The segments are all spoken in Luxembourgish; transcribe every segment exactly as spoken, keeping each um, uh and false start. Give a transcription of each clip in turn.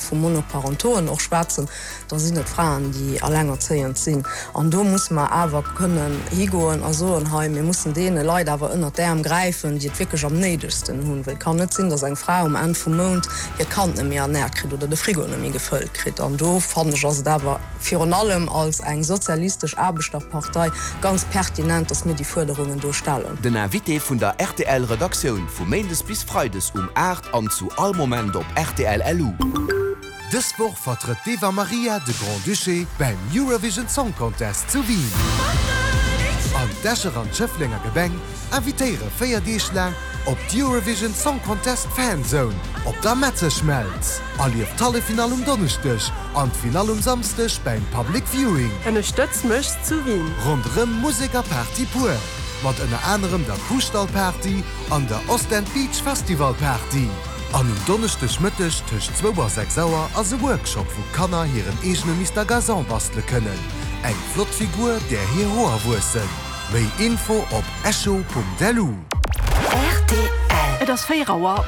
vu Monoparentoen och schwätzen, da sinn et Fraen, déi allengerzéiend sinn. An do musse mer awer kënnen higoen a soen, hei mir mussen deene Leit awer ënnert d'Äerm gräifen, déi et wierklech am néidegsten hunn, well et kann net sinn, datt eng Fra um Enn vum Mount hiert Kand net méi ernäert kritt oder de Frigo net méi gefëllt kritt. An do fannen ech ass et awer virun allem als eng sozialistesch Aarbechterpartei ganz pertinent, datt mir déi Fuerderungen do stellen. Den Invité vun der R T L Redaktioun vu Méindes bis Freides um aacht an zu all Moment op R T L L U. Dës Woch vertrëtt d'Eva Marija de Grand-Duché beim Eurovision Song Contest zu Wien. An d'Escher an d'Schëfflenger Gemeng invitéiere véier Deeg laang op d'Eurovision Song Contest Fanzone op der Metzeschmelz. Erlieft d'Halleffinall um Donneschdeg an d'Finall um Samschdeg beim Public Viewing. Ënnerstëtz mech zu Wien. Ronderëm Musek a Party pur. Mat ënner anerem der Kuhstall-Party an der Ostend Beach Festival Party. An um Donneschdeg Mëtteg tëscht zwou a sechs Auer ass e Workshop, wou Kanner hiren eegene Mister Gazon bastele kënnen. Eng flott Figur, där hir Hoer wuessen. Méi Info op echo Punkt L U. R T L. Et ass véier Auer.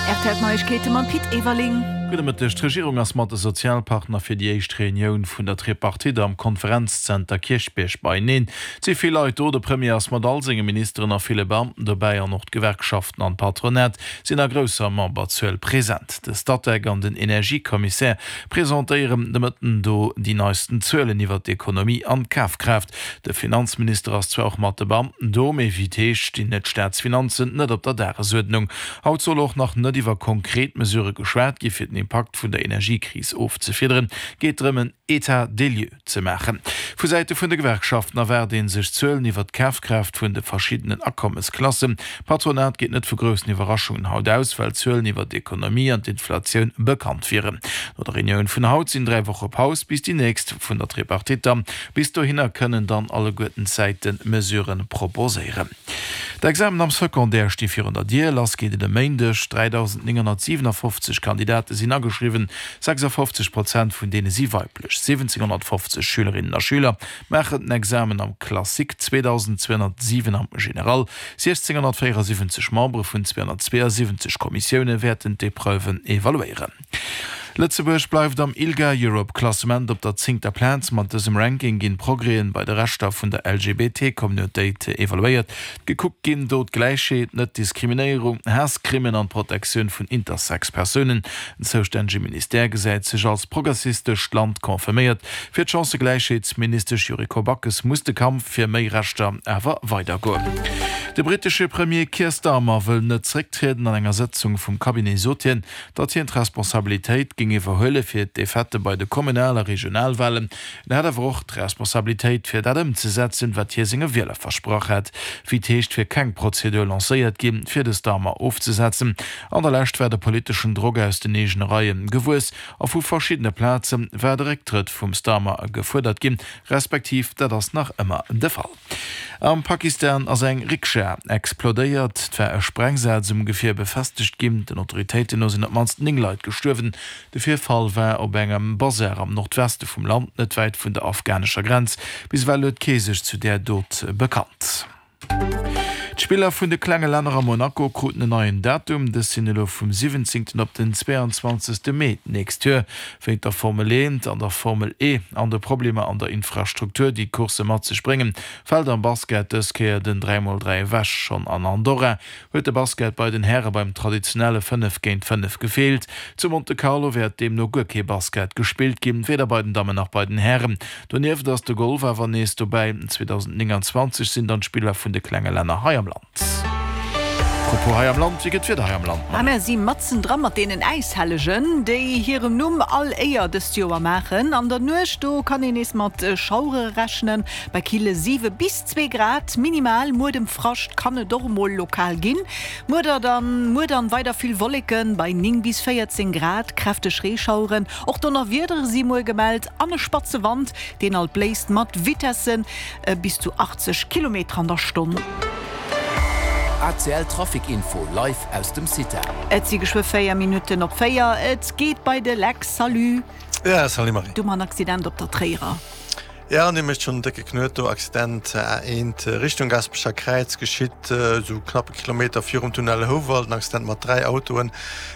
R T L Neiegkeete mam Pit Everling. Gudde Mëtteg. D'Regierung ass mat de Sozialpartner fir déi éischt Reunioun vun der Tripartite am Konferenzzenter Kierchbierg beieneen. Et si vill Leit do, de Premier ass mat all senge Ministeren a ville Beamten dobäi an och d'Gewerkschaften an d'Patronat sinn a grousser Memberzuel present. De Statec an den Energiekommissär presentéieren de Mëtten do déi neisten Zuelen iwwer d'Ekonomie an d'Kafkraaft. De Finanzminister ass zwar och mat de Beamten do, mee wéi et heescht, stinn d'Staatsfinanzen net op der Dagesuerdnung. Haut soll och nach net iwwer konkret Mesurë geschwat gi fir den Impakt vun der Energiekris ofzefiederen, geet drëm en État des lieux ze maachen. Vu Säite vun de Gewerkschaften erwaart ee sech Zuelen iwwer d'Kafkraaft vun de verschiddenen Akommesklassen. D'Patronat geet net vu groussen Iwwerraschungen haut aus, well Zuelen iwwer d'Ekonomie an d'Inflatioun bekannt wieren. No der Reunioun vun haut sinn dräi Woche Paus bis déi nächst vun der Tripartite. Bis dohinner kënnen dann alleguerten d'Säite Mesurë proposéieren. D'Examen am Secondaire sti virun der Dier, lass geet et e Méindeg. dräidausendnénghonnertsiwenafofzeg Kandidate sinn ageschriwwen, sechsafofzeg Prozent vun deene si weiblech. Siwwenzénghonnertfofzeg Schülerinnen a Schüler maachen den Examen am Classique, zweedausendzweehonnertsiwen am Général. Siechzénghonnertvéierasiwwenzeg Membere vun zweehonnertzweeasiwwenzeg Kommissioune wäerten d'Epreuven evaluéieren. Lëtzebuerg bleift am ILGA Europe Klassement op der zéngter Plaz. Mat dësem Ranking ginn d'Progrèsen bei de Rechter vun der L G B T-Communautéit evaluéiert. Gekuckt ginn do d'Gläichheet, Net-Diskriminéierung, Haasscrimen an d'Protektioun vun Intersex-Persounen. Den zoustännege Ministère gesäit sech als progressistescht Land confirméiert. Fir d'Chancëgläichheetsministesch Yuriko Backes muss de Kampf fir méi Rechter awer weidergoen. De brittesche Premier Keir Starmer wëll net zrécktrieden. An enger Sëtzung vum Cabinet sot hien, datt hien d'Responsabilitéit géing iwwerhuele fir d'Defaite bei de Kommunal- a Regionalwalen. En hätt awer och d'Responsabilitéit fir dat ëmzesetzen, wat hie senge Wieler versprach hätt. Wéi et heescht, wier keng Prozedur lancéiert ginn, fir de Starmer ofzesetzen. An der Lescht war de politeschen Drock aus den eegene Reie gewuess a vu verschiddene Plaze war de Récktrëtt vum Starmer gefuerdert ginn, respektiv dat ass nach ëmmer de Fall. Am Pakistan ass eng Rikscha explodéiert, et war e Sprengsaz um Gefier befestegt ginn. Den Autoritéiten no sinn op d'mannst néng Leit gestuerwen. De Virfall war op engem Basar am Nordweste vum Land, net wäit vun der afghanescher Grenz. Bis ewell huet kee sech zu där Dot bekannt. D'Spiller vun de klenge Länner a Monaco kruten en neien Datum, dës sinn elo vum siwwenzéngten op den zweeanzwanzegste Mee d'nächst Joer. Wéint der Formel eent an der Formel E an de Problemer an der Infrastruktur, déi d'Coursse mat sech bréngen, fält am Basket dës Kéier den dräi mol dräi ewech. Schonn an Andorra huet de Basket bei den Häre beim traditionelle fënnef géint fënnef gefeelt. Zu Monte Carlo wäert deemno guer kee Basket gespillt ginn, weder bei den Dammen nach bei den Hären. Donieft ass de Golf awer nees dobäi. zweedausendnénganzwanzeg sinn dann d'Spiller vun de klenge Länner hei am Land. Apropos hei am Land, wéi gëtt d'Wieder hei am Land? Ah, mir si matzen dra mat deenen Äishellegen, déi hirem Numm all Éier dëst Joer maachen. An der Nuecht do kann een nees mat Schauere rechnen, bei kille siwe bis zwee Grad minimal. Muedemfrascht kann et och emol lokal ginn. Muer dann, muer dann weider vill Wolleken bei néng bis véierzéng Grad, kräfteg Reeschaueren, och Donnerwiedere si muer gemellt an e spatze Wand, deen alt bléist mat Vitessen bis zu achtzeg Kilometer an der Stonn. A C L Trafic Info live aus dem CITA. Et si geschwë véier Minutten op véier. Et geet bei de Lex. Salut. Ja, salut Marie. Du man Accident op der Tréierer. Ja, an mécht schonn décke Knuet do. Accident A eent Richtung Gasperecher Kräiz geschitt sou knapp e Kilometer virum Tunnel Houwald. En Accident mat dräi Autoen.